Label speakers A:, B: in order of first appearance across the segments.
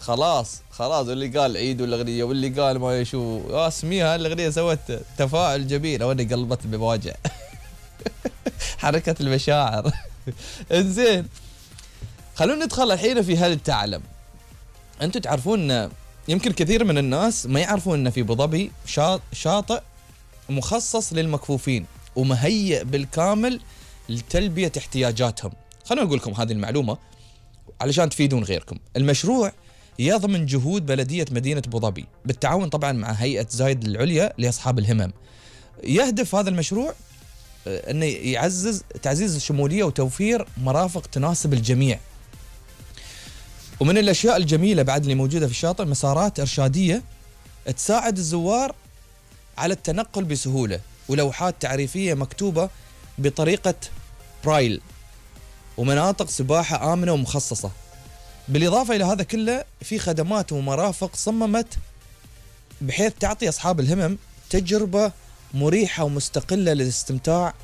A: خلاص واللي قال عيد والاغنيه واللي قال ما يشوف اسميها الاغنيه سوت تفاعل جميل وانا قلبت بمواجع. حركه المشاعر. انزين خلونا ندخل الحين في هل تعلم. انتم تعرفون يمكن كثير من الناس ما يعرفون ان في ابو ظبي شاطئ مخصص للمكفوفين ومهيئ بالكامل لتلبيه احتياجاتهم. خلونا نقول لكم هذه المعلومه علشان تفيدون غيركم. المشروع يضمن جهود بلدية مدينة أبو ظبي بالتعاون طبعا مع هيئة زايد العليا لأصحاب الهمم. يهدف هذا المشروع أنه يعزز تعزيز الشمولية وتوفير مرافق تناسب الجميع. ومن الأشياء الجميلة بعد اللي موجودة في الشاطئ مسارات إرشادية تساعد الزوار على التنقل بسهولة ولوحات تعريفية مكتوبة بطريقة برايل ومناطق سباحة آمنة ومخصصة. بالإضافة إلى هذا كله في خدمات ومرافق صممت بحيث تعطي أصحاب الهمم تجربة مريحة ومستقلة للاستمتاع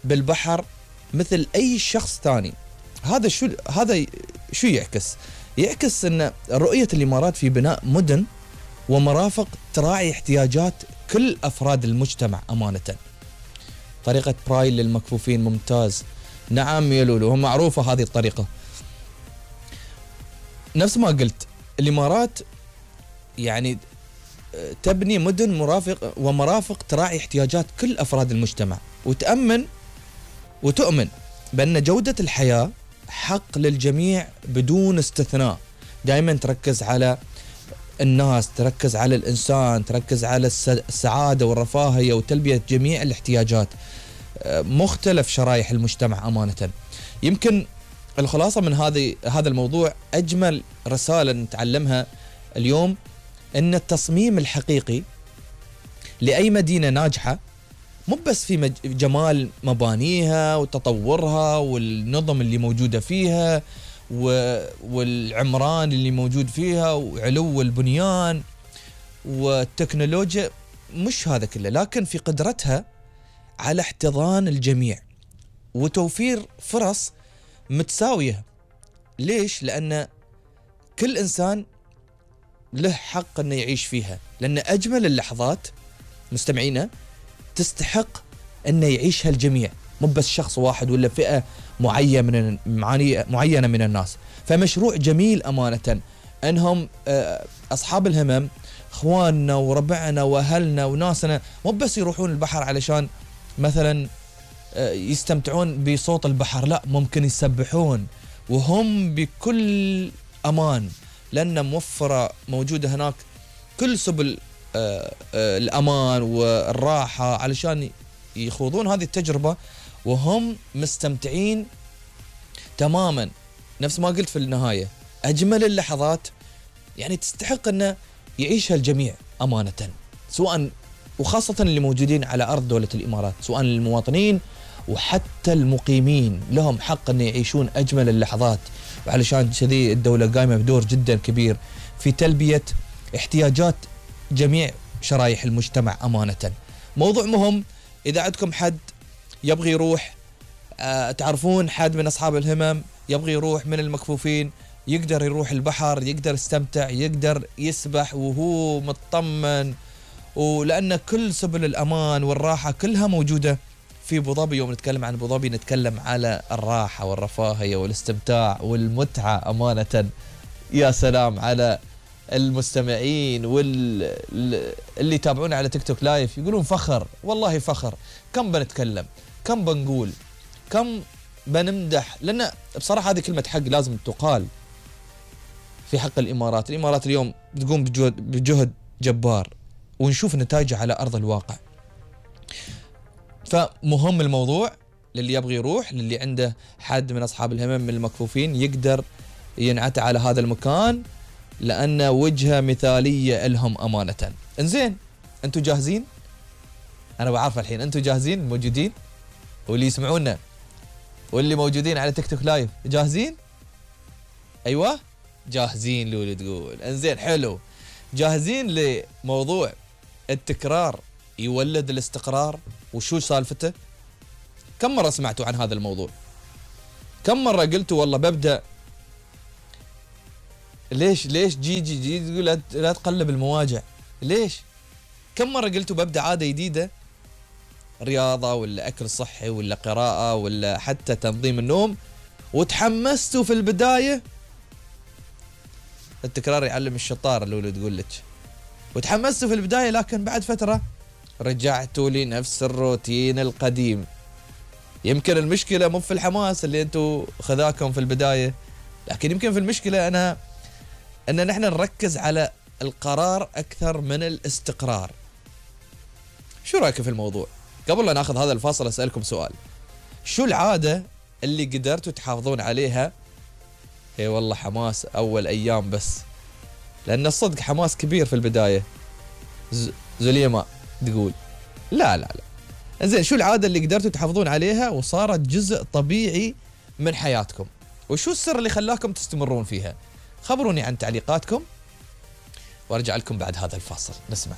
A: بالبحر مثل أي شخص ثاني. هذا شو يعكس أن رؤية الإمارات في بناء مدن ومرافق تراعي احتياجات كل أفراد المجتمع أمانة. طريقة برايل للمكفوفين ممتاز. نعم يا لولو هم معروفة هذه الطريقة. نفس ما قلت الإمارات يعني تبني مدن ومرافق تراعي احتياجات كل أفراد المجتمع وتؤمن بأن جودة الحياة حق للجميع بدون استثناء. دائما تركز على الناس، تركز على الإنسان، تركز على السعادة والرفاهية وتلبية جميع الاحتياجات مختلف شرائح المجتمع أمانة. يمكن الخلاصة من هذا الموضوع أجمل رسالة نتعلمها اليوم أن التصميم الحقيقي لأي مدينة ناجحة مو بس في جمال مبانيها وتطورها والنظم اللي موجودة فيها والعمران اللي موجود فيها وعلو البنيان والتكنولوجيا، مش هذا كله، لكن في قدرتها على احتضان الجميع وتوفير فرص متساوية. ليش؟ لأن كل إنسان له حق أنه يعيش فيها، لأن أجمل اللحظات مستمعينا تستحق أنه يعيشها الجميع، مو بس شخص واحد ولا فئة معينة من الناس. فمشروع جميل أمانة أنهم أصحاب الهمم إخواننا وربعنا وأهلنا وناسنا مو بس يروحون البحر علشان مثلا يستمتعون بصوت البحر، لا، ممكن يسبحون وهم بكل أمان لأن موفرة موجودة هناك كل سبل الأمان والراحة علشان يخوضون هذه التجربة وهم مستمتعين تماما. نفس ما قلت في النهاية أجمل اللحظات يعني تستحق أن يعيشها الجميع أمانة، سواء وخاصة اللي موجودين على أرض دولة الإمارات، سواء المواطنين وحتى المقيمين لهم حق أن يعيشون أجمل اللحظات. وعلشان كذي الدولة قايمة بدور جدا كبير في تلبية احتياجات جميع شرائح المجتمع أمانة. موضوع مهم، إذا عندكم حد يبغي يروح تعرفون حد من أصحاب الهمم يبغي يروح من المكفوفين، يقدر يروح البحر، يقدر يستمتع، يقدر يسبح وهو مطمن، ولأن كل سبل الأمان والراحة كلها موجودة في أبو ظبي. يوم نتكلم عن أبو ظبي نتكلم على الراحة والرفاهية والاستمتاع والمتعة أمانة. يا سلام على المستمعين واللي يتابعونا على تيك توك لايف يقولون فخر، والله فخر. كم بنتكلم، كم بنقول، كم بنمدح، لأن بصراحة هذه كلمة حق لازم تقال في حق الإمارات. الإمارات اليوم تقوم بجهد جبار ونشوف نتائجه على أرض الواقع. فمهم الموضوع للي يبغي يروح، للي عنده حد من أصحاب الهمم من المكفوفين يقدر ينعت على هذا المكان لأن وجهة مثالية لهم أمانة. انزين أنتوا جاهزين؟ أنا بعرف الحين أنتوا جاهزين موجودين، واللي يسمعونا واللي موجودين على تيك توك لايف جاهزين؟ أيوة جاهزين. لولو تقول انزين حلو. جاهزين لموضوع التكرار يولد الاستقرار وشو سالفته؟ كم مرة سمعتوا عن هذا الموضوع؟ كم مرة قلتوا والله ببدأ ليش جي تقول لا تقلب المواجع؟ ليش؟ كم مرة قلتوا ببدأ عادة جديدة، رياضة ولا أكل صحي ولا قراءة ولا حتى تنظيم النوم، وتحمستوا في البداية. التكرار يعلم الشطار اللي تقول لك. وتحمستوا في البداية لكن بعد فترة رجعتوا لنفس الروتين القديم. يمكن المشكلة مو في الحماس اللي انتوا خذاكم في البداية، لكن يمكن في المشكلة ان نحن نركز على القرار اكثر من الاستقرار. شو رأيك في الموضوع؟ قبل لا ناخذ هذا الفاصل اسألكم سؤال، شو العادة اللي قدرتوا تحافظون عليها؟ اي والله حماس اول ايام بس، لان الصدق حماس كبير في البداية. زليماء تقول لا زين، شو العادة اللي قدرتوا تحافظون عليها وصارت جزء طبيعي من حياتكم؟ وشو السر اللي خلاكم تستمرون فيها؟ خبروني عن تعليقاتكم وارجع لكم بعد هذا الفاصل. نسمع.